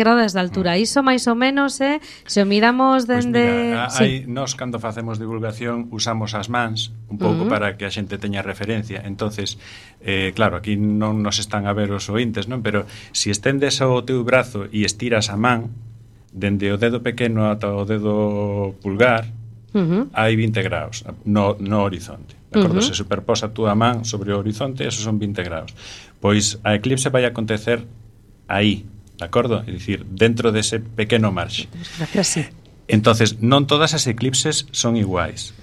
grados de altura. Iso máis ou menos, se o miramos dende... Pues mira, nós cando facemos divulgación usamos as mans un pouco para que a xente teña referencia. Entonces, claro, aquí non nos están a ver os ointes, non? Pero se estendes o teu brazo e estiras a man dende o dedo pequeno ata o dedo pulgar, hai 20 graus no horizonte. De acordo? Se superposa a túa man sobre o horizonte, esos son 20 graus. Pois a eclipse vai acontecer aí, de acordo? É dicir, dentro dese pequeno marxe. Entonces, non todas as eclipses son iguais,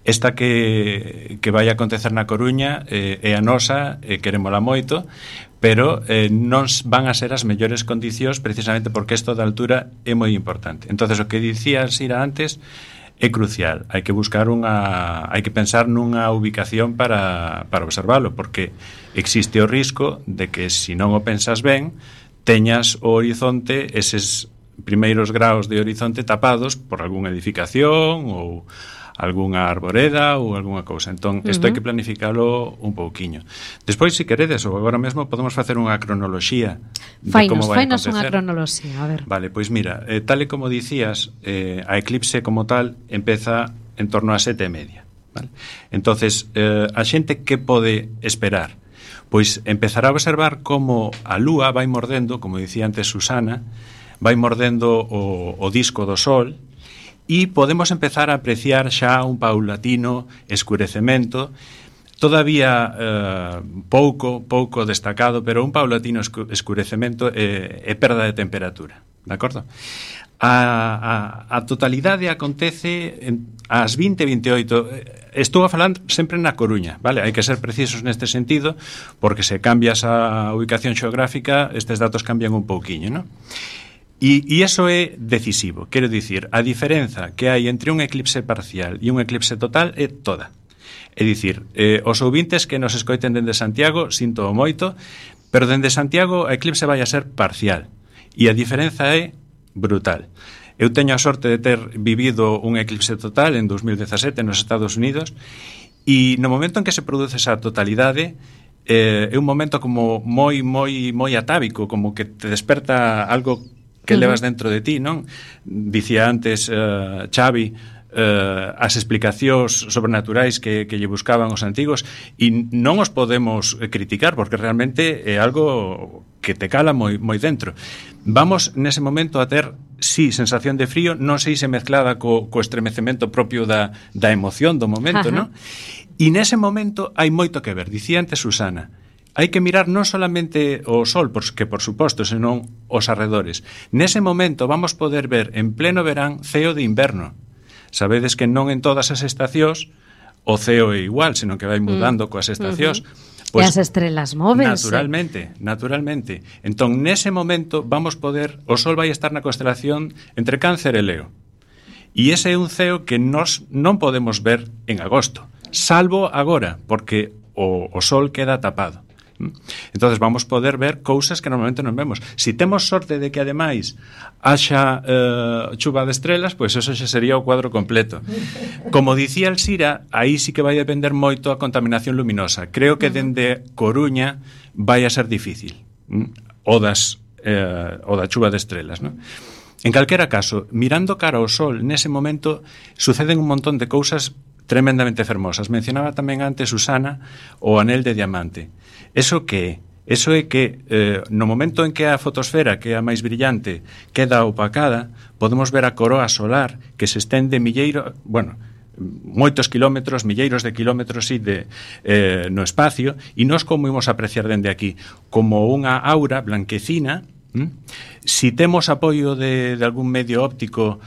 Esta que vai acontecer na Coruña é a nosa, querémola moito, pero non van a ser as mellores condicións precisamente porque isto da altura é moi importante. Entonces, o que dicía Sira antes é crucial. Hai que buscar hai que pensar nunha ubicación para observalo, porque existe o risco de que se non o pensas ben, teñas o horizonte, eses primeiros graus de horizonte tapados por algunha edificación ou algunha arboreda ou algunha cousa. Entón, isto hai que planificalo un pouquiño. Despois, se queredes, ou agora mesmo podemos facer unha cronoloxía de como vai acontecer. Fainos unha cronoloxía, a ver. Vale, pois mira, tal e como dicías, a eclipse como tal empeza en torno a 7:30, vale? Entonces, a xente que pode esperar? Pois empezará a observar como a lúa vai mordendo, como dicía antes Susana, vai mordendo o disco do sol e podemos empezar a apreciar xa un paulatino escurecemento, todavía pouco destacado, pero un paulatino escurecemento e perda de temperatura, de acordo? A totalidade acontece ás 20:28. Estou a falar sempre na Coruña, vale? Hai que ser precisos neste sentido, porque se cambias a ubicación xeográfica, estes datos cambian un pouquiño, non? E iso é decisivo. Quero dicir, a diferenza que hai entre un eclipse parcial e un eclipse total é toda. É dicir, os ouvintes que nos escoiten dende Santiago, sinto moito, pero dende Santiago a eclipse vai a ser parcial. E a diferenza é brutal. Eu teño a sorte de ter vivido un eclipse total en 2017 nos Estados Unidos e no momento en que se produce esa totalidade é un momento como moi atávico, como que te desperta algo que levas dentro de ti, non? Dicía antes Xavi as explicacións sobrenaturais que lle buscaban os antigos e non os podemos criticar porque realmente é algo que te cala moi dentro. Vamos nese momento a ter, sí, sensación de frío, non sei se mezclada co estremecemento propio da emoción do momento, non? E nese momento hai moito que ver. Dicía antes Susana, hai que mirar non solamente o sol, que por suposto, senón os arredores. Nese momento vamos poder ver en pleno verán ceo de inverno. Sabedes que non en todas as estacións o ceo é igual, senón que vai mudando coas estacións. Pues, e as estrelas móvense. Naturalmente. Entón, nese momento vamos poder, o sol vai estar na constelación entre Cáncer e Leo. E ese é un ceo que nós non podemos ver en agosto, salvo agora, porque o sol queda tapado. Entonces vamos poder ver cousas que normalmente non vemos. Si temos sorte de que ademais haxa chuva de estrelas, pois eso xa sería o cuadro completo. Como dicía Alsira, aí sí que vai depender moito a contaminación luminosa. Creo que dende Coruña vai a ser difícil o da chuva de estrelas, non? En calquera caso, mirando cara ao sol, nese momento suceden un montón de cousas tremendamente fermosas. Mencionaba tamén antes Susana o anel de diamante. Eso que é? Eso é que no momento en que a fotosfera, que é a máis brillante, queda opacada, podemos ver a coroa solar que se estende moitos kilómetros, milleiros de kilómetros no espacio, e nós como imos apreciar dende aquí? Como unha aura blanquecina. Si temos apoio de algún medio óptico,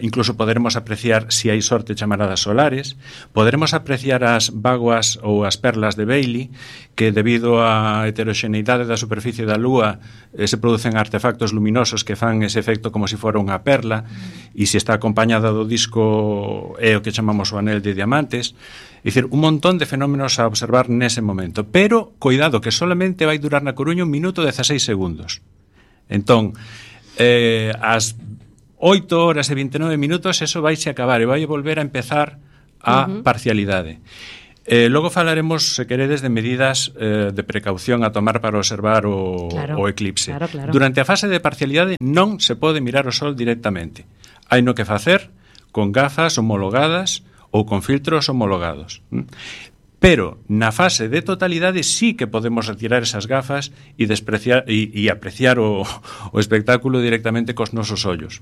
incluso poderemos apreciar, si hai sorte, chamaradas solares. Poderemos apreciar as vaguas ou as perlas de Bailey, que debido á heteroxeneidade da superficie da Lúa se producen artefactos luminosos que fan ese efecto como se fora unha perla, e se está acompañada do disco é o que chamamos o anel de diamantes. É dicir, un montón de fenómenos a observar nese momento, pero cuidado que solamente vai durar na Coruña 1 minuto e 16 segundos. Entón, as 8 horas e 29 minutos eso vai se acabar e vai volver a empezar a parcialidade. Logo falaremos, se queredes, de medidas de precaución a tomar para observar o eclipse. Claro. Durante a fase de parcialidade non se pode mirar o sol directamente. Hai no que facer con gafas homologadas ou con filtros homologados. Pero na fase de totalidade sí que podemos retirar esas gafas e apreciar o espectáculo directamente cos nosos ollos.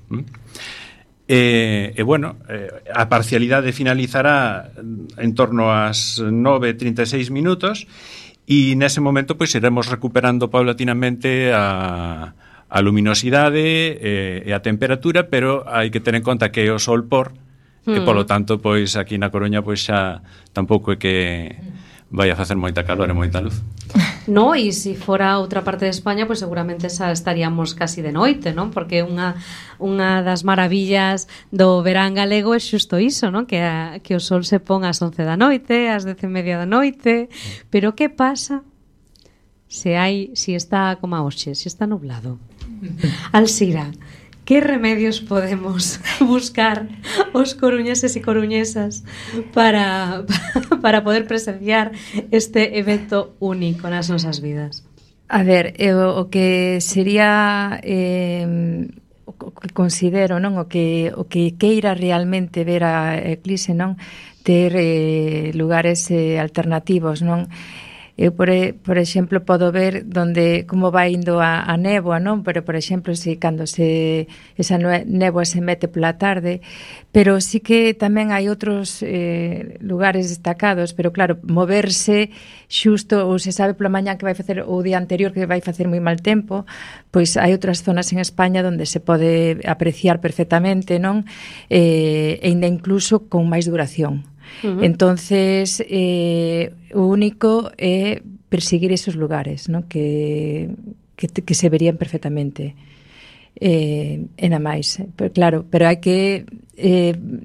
A parcialidade finalizará en torno ás 9:36 minutos e nese momento pois iremos recuperando paulatinamente a luminosidade e a temperatura, pero hai que ter en conta que é o sol por e polo tanto pois aquí na Coruña pois xa tampouco é que vai a facer moita calor e moita luz. No, e se fora outra parte de España, pois seguramente xa estaríamos casi de noite, non? Porque unha das maravillas do verán galego é xusto iso, non? Que o sol se pon ás 11 da noite, ás 10:30 da noite. Pero que pasa se está como a hoxe, se está nublado? Alzira, que remedios podemos buscar os coruñeses e coruñesas para poder presenciar este evento único nas nosas vidas? A ver, o que sería o que considero, non, o que queira realmente ver a eclipse, non, ter lugares alternativos, non. Eu, por exemplo, podo ver como vai indo a néboa, non? Pero, por exemplo, cando esa néboa se mete pola tarde, pero sí que tamén hai outros lugares destacados, pero claro, moverse xusto, ou se sabe pola mañá que vai facer, o día anterior que vai facer moi mal tempo, pois hai outras zonas en España onde se pode apreciar perfectamente, non? E ainda incluso con máis duración. Entonces o único é perseguir esos lugares, ¿no? que se verían perfectamente e na máis, pero hai que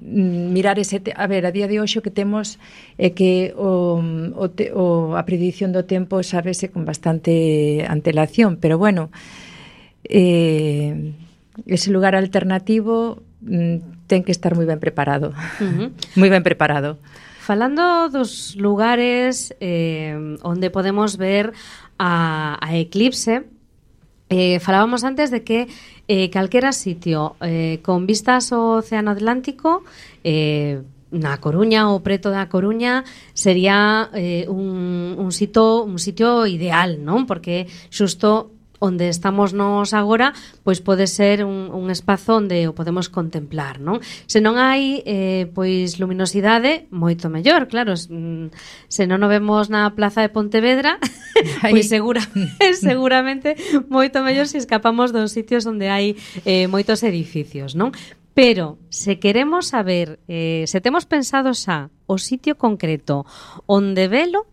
mirar a día de hoxe o que temos é que a predición do tempo sábese con bastante antelación, pero bueno, ese lugar alternativo ten que estar moi ben preparado. Moi ben preparado. Falando dos lugares onde podemos ver a eclipse, falábamos antes de que calquera sitio con vistas ao Océano Atlántico, na Coruña ou preto da Coruña, sería un sitio ideal, non? Porque xusto onde estamos nos agora, pois pode ser un espazo onde o podemos contemplar, non? Se non hai pois luminosidade, moito mellor, claro. Se non o vemos na plaza de Pontevedra, pois seguramente moito mellor se escapamos dos sitios onde hai moitos edificios, non? Pero se queremos saber, se temos pensado xa o sitio concreto onde velo,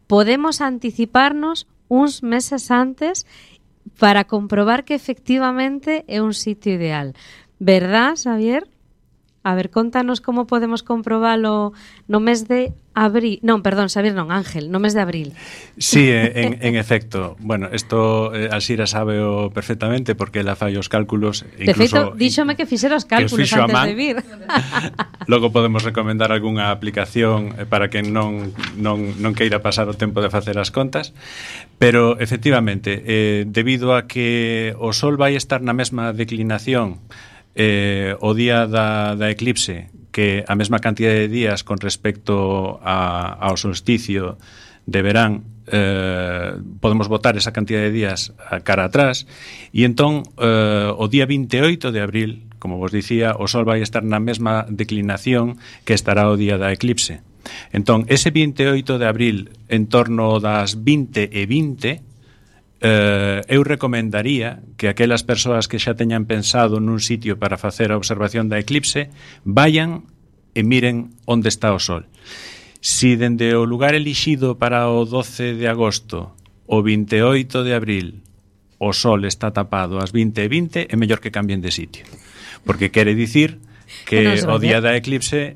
podemos anticiparnos uns meses antes para comprobar que efectivamente é un sitio ideal. Verdad, Xavier? A ver, contanos como podemos comprobalo no mes de abril. Non, perdón, Xavier non, Ángel, no mes de abril. Sí, en efecto. Bueno, isto Alzira sábeo perfectamente porque ela fai os cálculos. De feito, díxome que fixera os cálculos antes de vir. Logo podemos recomendar algunha aplicación para que non queira pasar o tempo de facer as contas. Pero, efectivamente, debido a que o Sol vai estar na mesma declinación o día da eclipse, que a mesma cantidad de días con respecto ao solsticio de verán, podemos botar esa cantidad de días a cara atrás, e entón o día 28 de abril, como vos dicía, o Sol vai estar na mesma declinación que estará o día da eclipse. Entón, ese 28 de abril, en torno das 20:20, eu recomendaría que aquelas persoas que xa teñan pensado nun sitio para facer a observación da eclipse vayan e miren onde está o Sol. Si dende o lugar elixido para o 12 de agosto o 28 de abril o Sol está tapado ás 20:20, é mellor que cambien de sitio, porque quere dicir que o día da eclipse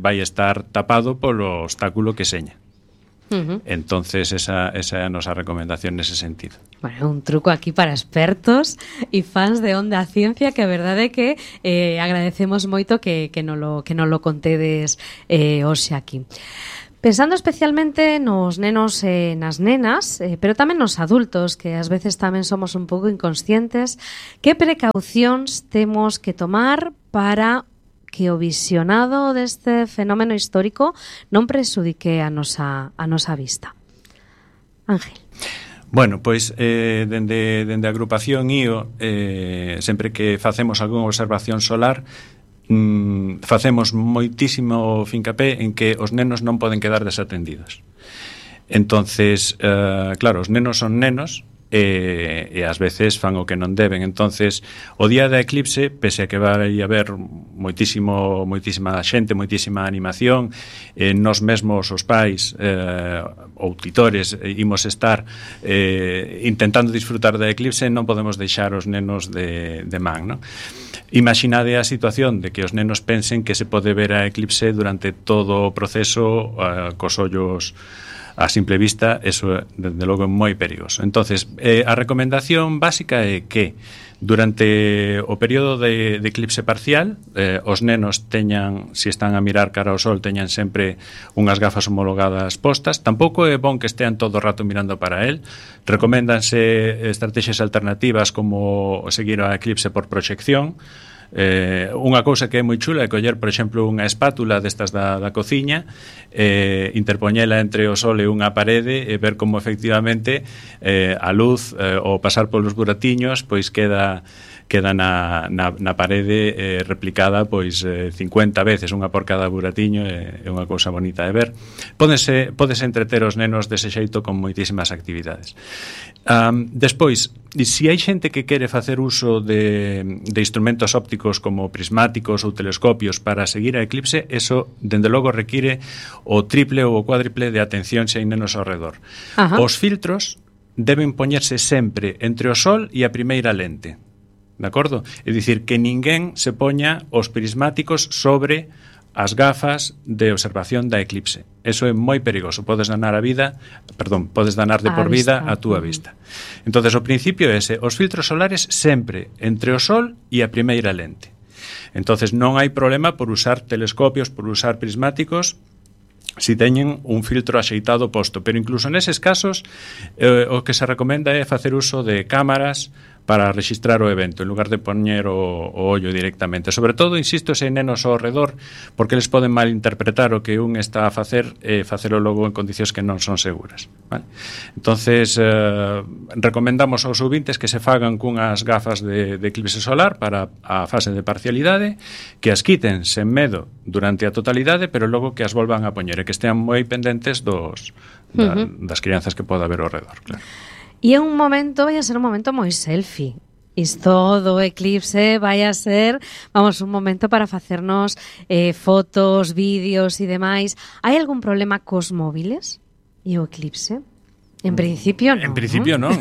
vai estar tapado polo obstáculo que seña. Entonces esa é a nosa recomendación nese sentido. Bueno, un truco aquí para expertos e fans de Onda Ciencia, que a verdade é que agradecemos moito que non lo contedes hoxe aquí. Pensando especialmente nos nenos e nas nenas, pero tamén nos adultos, que ás veces tamén somos un pouco inconscientes, que precaucións temos que tomar para que o visionado deste fenómeno histórico non presudique a nosa vista? Ángel. Bueno, pois dende a agrupación IO sempre que facemos algunha observación solar facemos moitísimo fincapé en que os nenos non poden quedar desatendidos. Entonces, claro, os nenos son nenos e ás veces fan o que non deben. Entonces, o día da eclipse, pese a que vai haber moitísima xente, moitísima animación, nós mesmos os pais ou titores imos estar intentando disfrutar da eclipse, non podemos deixar os nenos de man, non? Imaginade a situación de que os nenos pensen que se pode ver a eclipse durante todo o proceso cos ollos a simple vista, eso desde logo é moi perigoso. Entonces, a recomendación básica é que durante o período de eclipse parcial os nenos teñan, se están a mirar cara ao sol, teñan sempre unhas gafas homologadas postas. Tampouco é bon que estean todo o rato mirando para el. Recoméndanse estrategias alternativas como seguir a eclipse por proxección. Unha cousa que é moi chula é coller, por exemplo, unha espátula destas da cociña, interpoñela entre o sol e unha parede e ver como efectivamente a luz ou pasar polos buratiños pois queda na parede replicada pois 50 veces, unha por cada buratiño, é unha cousa bonita de ver. Pódese entreter os nenos dese xeito con moitísimas actividades. Despois, se hai xente que quere facer uso de instrumentos ópticos como prismáticos ou telescopios para seguir a eclipse, eso, dende logo, require o triple ou o cuádriple de atención se hai nenos ao redor. Os filtros deben poñerse sempre entre o sol e a primeira lente. De acordo? É dicir, que ninguén se poña os prismáticos sobre as gafas de observación da eclipse. Eso é moi perigoso. Podes danar de por vida a túa vista. Entonces, o principio é ese. Os filtros solares sempre entre o sol e a primeira lente. Entonces, non hai problema por usar telescopios, por usar prismáticos, si teñen un filtro axeitado posto. Pero incluso neses casos, o que se recomenda é facer uso de cámaras para registrar o evento, en lugar de poñer o ollo directamente. Sobre todo, insisto, se hai nenos ao redor, porque eles poden malinterpretar o que un está a facer e facelo logo en condicións que non son seguras. Vale? Entonces, recomendamos aos ouvintes que se fagan cunhas gafas de eclipse solar para a fase de parcialidade, que as quiten sen medo durante a totalidade, pero logo que as volvan a poñer e que estean moi pendentes das crianzas que poda haber ao redor, claro. E é un momento, vai a ser un momento moi selfie. Isto do eclipse vai a ser, un momento para facernos fotos, vídeos e demais. Hai algún problema cos móviles e o eclipse? En principio non. En principio non.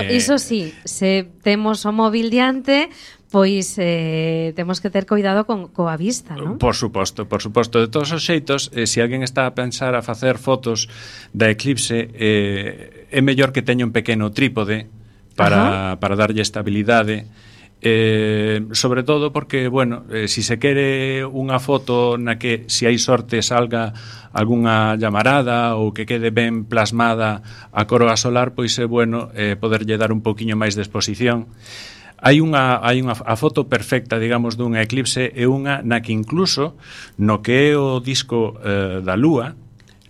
Iso sí, se temos o móvil diante, pois temos que ter cuidado coa vista, non? Por suposto. De todos os xeitos, se alguén está a pensar a facer fotos da eclipse, é mellor que teña un pequeno trípode para darlle estabilidade, sobre todo porque, si se quere unha foto na que, se hai sorte, salga algunha llamarada ou que quede ben plasmada a coroa solar, pois é bueno poderlle dar un poquinho máis de exposición. Hai a foto perfecta, digamos, dunha eclipse é unha na que incluso no que é o disco da Lúa,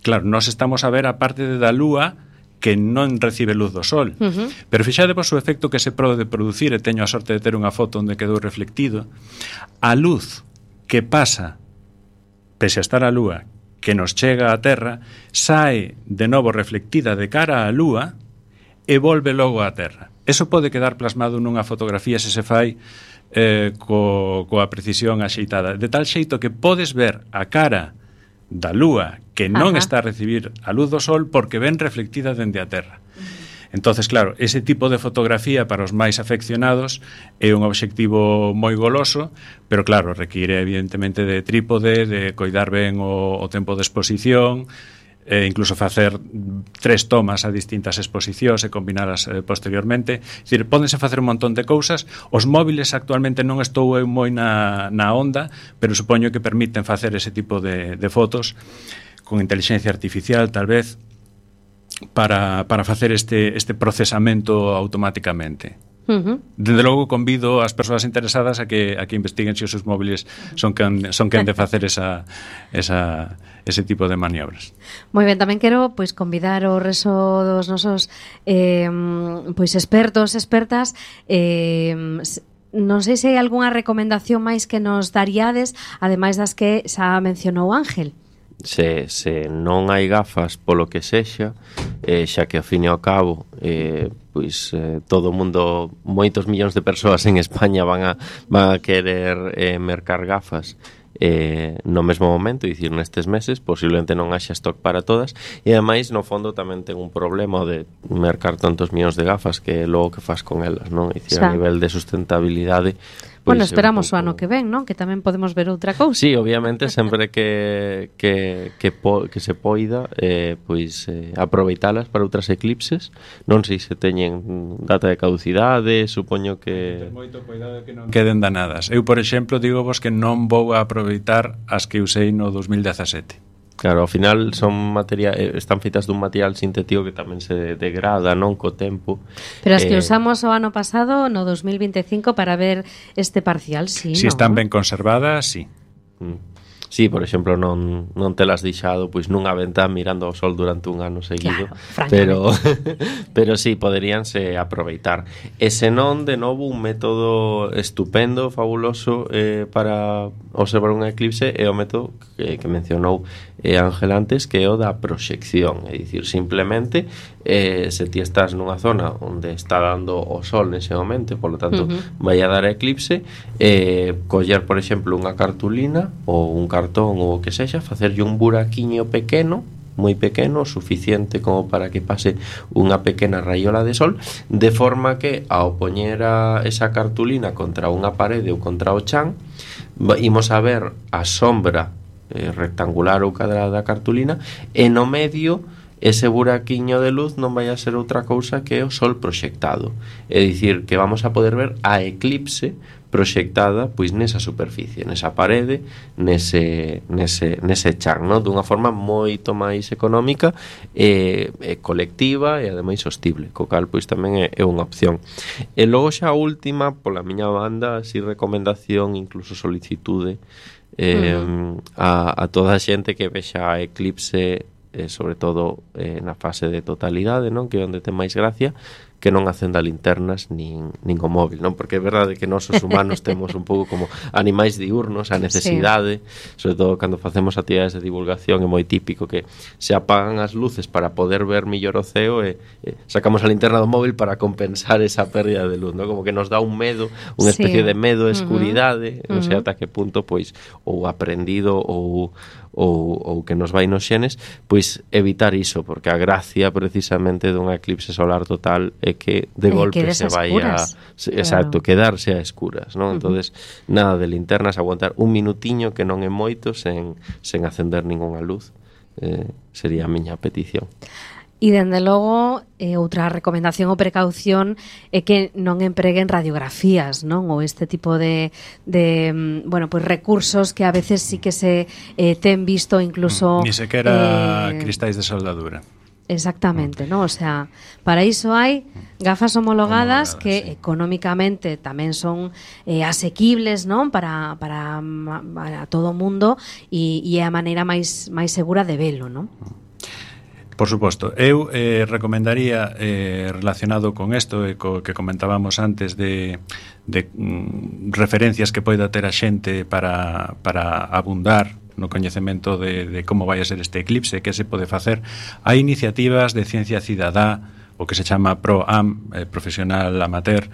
claro, nós estamos a ver a parte da Lúa que non recibe luz do sol. Pero fixadevos o efecto que se pode producir, e teño a sorte de ter unha foto onde quedou reflectido. A luz que pasa, pese a estar a Lúa, que nos chega á Terra, sae de novo reflectida de cara á Lúa e volve logo á Terra. Eso pode quedar plasmado nunha fotografía se se fai coa precisión axeitada, de tal xeito que podes ver a cara da Lúa que non está a recibir a luz do sol porque ven reflectida dende a Terra. Entonces, claro, ese tipo de fotografía para os máis afeccionados é un obxectivo moi goloso, pero claro, require evidentemente de trípode, de coidar ben o tempo de exposición, incluso facer 3 tomas a distintas exposicións e combinalas posteriormente. É dicir, pódense facer un montón de cousas. Os móviles actualmente non estou moi na onda, pero supoño que permiten facer ese tipo de fotos con inteligencia artificial, tal vez, para facer este procesamento automáticamente. Desde logo convido as persoas interesadas a que investiguen se os seus móviles son quen de facer ese tipo de maniobras. Moi ben, tamén quero convidar o resto dos nosos expertos, expertas, non sei se hai algunha recomendación máis que nos daríades, ademais das que xa mencionou Ángel. Se non hai gafas polo que sexa, xa que ao fin e ao cabo todo o mundo, moitos millóns de persoas en España van a querer mercar gafas no mesmo momento, dicir, nestes meses posiblemente non haxa stock para todas, e ademais no fondo tamén ten un problema de mercar tantos millóns de gafas que logo que fas con elas, non? Dicir, a nivel de sustentabilidade. Bueno, esperamos o ano que ven, non? Que tamén podemos ver outra cousa. Sí, obviamente, sempre que se poida, aproveitalas para outras eclipses. Non sei se teñen data de caducidade, supoño que... Ten moito cuidado que non queden danadas. Eu, por exemplo, digo vos que non vou a aproveitar as que usei no 2017. Claro, ao final están feitas dun material sintético que tamén se degrada, non, co tempo. Pero as que usamos o ano pasado, no 2025, para ver este parcial, sí, si non? Están ben conservadas, sí. Sí, por exemplo, non telas deixado nunha ventá mirando ao sol durante un ano seguido, claro, pero sí, poderíanse aproveitar. E senón, de novo, un método estupendo, fabuloso para observar un eclipse é o método que mencionou Ángel antes, que é o da proxección. É dicir, simplemente se ti estás nunha zona onde está dando o sol nese momento, polo tanto vai a dar eclipse, coller, por exemplo, unha cartulina ou un cartón ou o que sexa, facerlle un buraquiño pequeno, moi pequeno, suficiente como para que pase unha pequena raiola de sol, de forma que ao poñer esa cartulina contra unha parede ou contra o chan, imos a ver a sombra rectangular ou cadrada da cartulina, e no medio ese buraquiño de luz non vai a ser outra cousa que o sol proxectado. É dicir, que vamos a poder ver a eclipse proxectada nesa superficie, nesa parede, nese chan, non? Dunha forma moito máis económica e colectiva e ademais sostible, co cal tamén é unha opción. E logo xa a última, pola miña banda, así recomendación, incluso solicitude a toda a xente que vexa a eclipse, sobre todo na fase de totalidade, non? Que é onde ten máis gracia, que non acenda linternas nin o móvil, non? Porque é verdade que nós os humanos temos un pouco como animais diurnos, a necesidade, sobre todo cando facemos actividades de divulgación, é moi típico que se apagan as luces para poder ver millor o ceo e sacamos a linterna do móvil para compensar esa pérdida de luz, non? Como que nos dá un medo, unha especie de medo de escuridade, non sei ata que punto, ou aprendido ou que nos vai nos xenes, evitar iso, porque a gracia precisamente dunha eclipse solar total é que de golpe se vai exacto, quedarse a escuras, non? Entonces, nada de linternas, aguantar un minutiño, que non é moito, sen acender ningunha luz, sería a miña petición. E, dende logo, outra recomendación ou precaución é que non empreguen radiografías, non? Ou este tipo de recursos que a veces sí que se ten visto incluso... Ni sequera cristais de soldadura. Exactamente, ¿no? O sea, para iso hai gafas homologadas que sí, económicamente tamén son asequibles, non? Para todo o mundo e é a maneira máis segura de velo, non? Por suposto, eu recomendaría relacionado con isto e co que comentábamos antes de referencias que poida ter a xente para abundar no coñecemento de como vai a ser este eclipse, que se pode facer. Hai iniciativas de ciencia cidadá, o que se chama ProAm, profesional amateur.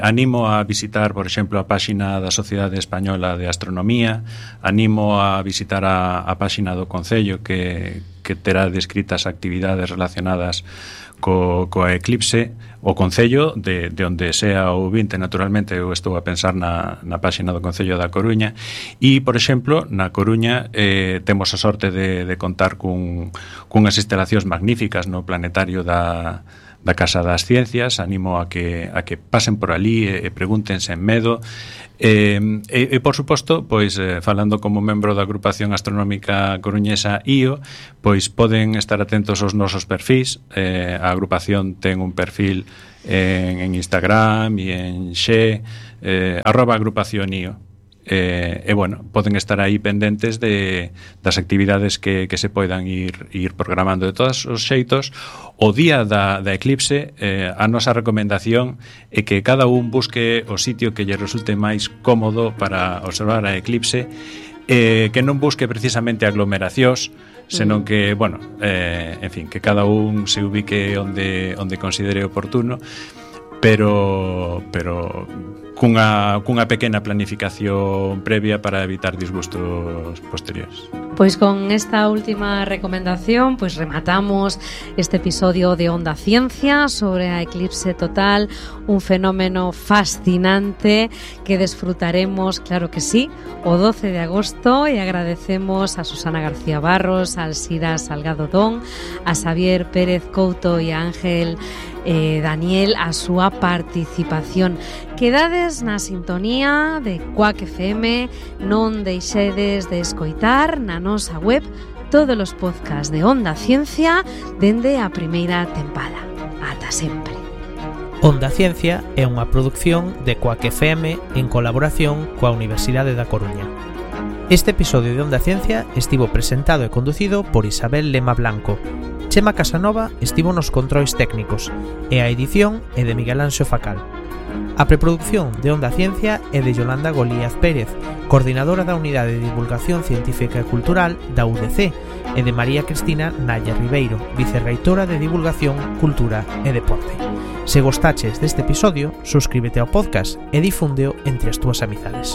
Animo a visitar, por exemplo, a páxina da Sociedade Española de Astronomía, animo a visitar a páxina do Concello que terá descritas actividades relacionadas coa eclipse. O Concello, de onde sea o ouvinte, naturalmente, eu estou a pensar na páxina do Concello da Coruña, e, por exemplo, na Coruña temos a sorte de contar cunhas instalacións magníficas no planetario da da Casa das Ciencias. Animo a que pasen por ali e pregunten sen medo. E por suposto, pois falando como membro da agrupación astronómica coruñesa IO, pois poden estar atentos aos nosos perfís. A agrupación ten un perfil en Instagram e en Xe, @agrupación IO. Bueno, poden estar aí pendentes das actividades que se poidan ir programando. De todos os xeitos, o día da eclipse, a nosa recomendación é que cada un busque o sitio que lle resulte máis cómodo para observar a eclipse, que non busque precisamente aglomeracións, senón que, bueno, en fin, que cada un se ubique onde considere oportuno, pero cunha pequena planificación previa para evitar disgustos posteriores. Pois con esta última recomendación, pois rematamos este episodio de Onda Ciencia sobre a eclipse total, un fenómeno fascinante que desfrutaremos, claro que sí, o 12 de agosto, e agradecemos a Susana García Barros, a Alsira Salgado Don, a Xavier Pérez Couto e a Ángel Daniel a súa participación. Quedades na sintonía de Quack FM, non deixedes de escoitar na nosa web todos os podcasts de Onda Ciencia dende a primeira tempada. Ata sempre. Onda Ciencia é unha produción de Quack FM en colaboración coa Universidade da Coruña. Este episodio de Onda Ciencia estivo presentado e conducido por Isabel Lema Blanco. Chema Casanova estivo nos controis técnicos e a edición é de Miguel Anxo Facal. A preproducción de Onda Ciencia é de Yolanda Golíaz Pérez, coordinadora da Unidade de Divulgación Científica e Cultural da UDC, e de María Cristina Nalla Ribeiro, vicerreitora de Divulgación, Cultura e Deporte. Se gostaches deste episodio, suscríbete ao podcast e difúndeo entre as túas amizades.